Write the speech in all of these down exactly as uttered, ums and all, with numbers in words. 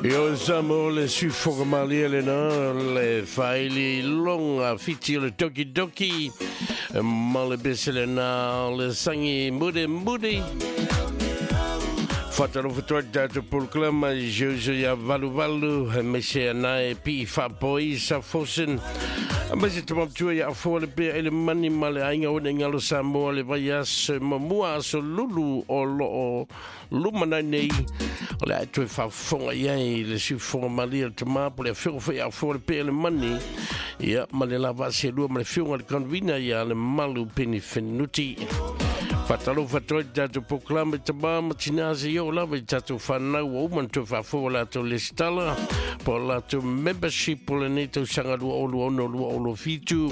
Io sa mo le sufoga malia le na le faili longa fiti o le doki doki ma le bese le na le sangi mude mude. Whatalofa toa tātou polokalama i Jojo ia valu valu me se anai pi whapoi sa fosen. A me se tamamtua ia afoa le pea ele mani ma le ainga one ngalo Samoa le vai aso mamua aso lulu o loo lumanai nei. O le ae toe whafonga iai le siufonga malia le tamapo le awhio whai afoa le pea le mani. Ia ma le lava se lua ma le whionga le konvina ia le malu peni whenuti. Whatalofa toi tātou polokalama i tamā ma tina ase i o lava i tātou whanau o uman toi whaafoa lātou lesitala po lātou membership o le nei tausaga lua olu ono lua olo fitu.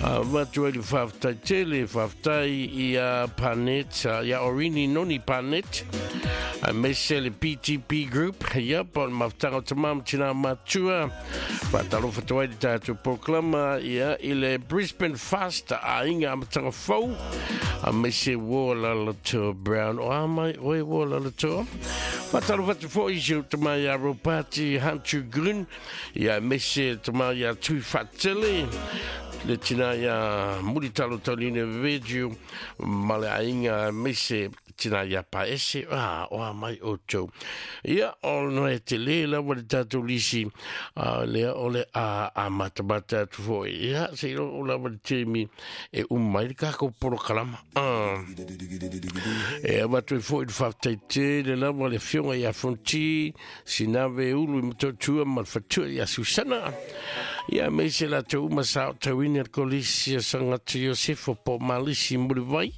Uh, Matu ai le whaftai tele, whaftai i a Panet, uh, ia Orini Noni Panet, a mese le P T P Group, ia po le maftanga o tamā ma tina matua. Whatalofa toi i tātou polokalama ia i le Brisbane Fast a inga amatanga fau. A mese wo lalato Brown o amai oe wo lalato. Whatalofa te fo isi o tamai a Ropati Hantu Grun, ia mese tamai a Tui Whatele. Le tina ia muritalo tauline veju ma le ainga mese tina ia paese ah, o a mai o tau. Ia o no e te le lawa le tātou lisi uh, lea o le a, a matamata atu foi. Ia se ilo o lawa le temi e umai le kako polokalama. Ah. E awatu e foi le whaftaite le lawa le fionga ia fonti sinave ulu i matotua ma le fatua ia Susana. Ia mese la te uma sa o tauini al kolisi a sangata Iosefo po malisi muriwai.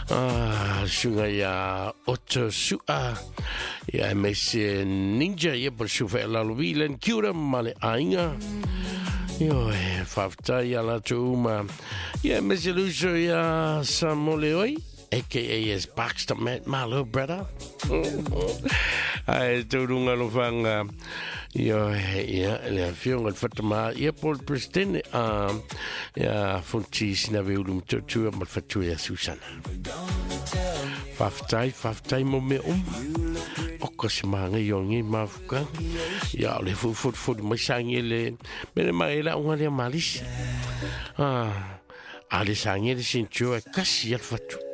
Ah, sunga ia Otto Sua. Ia mese ninja ia po sufa e lalo vilen kiura ma le ainga. Io e whaftai a la te uma. Ia mese luso ia Samole oi. A K A as Baxter Matt, my little brother. Ai, tūrunga lofanga. Io, ia, le afionga le whatama. Ia, Paul President, uh, ia, fonti sinawe ulu mtotua ma le whatua ia Susana. Whaftai, whaftai mo me uma. Oka se maanga i o ngi mafuka. Ia, o le fufutu mai sangi le. Mene mai la unga lea malisi. Ah, a le sangi le sintua e kasi al whatu.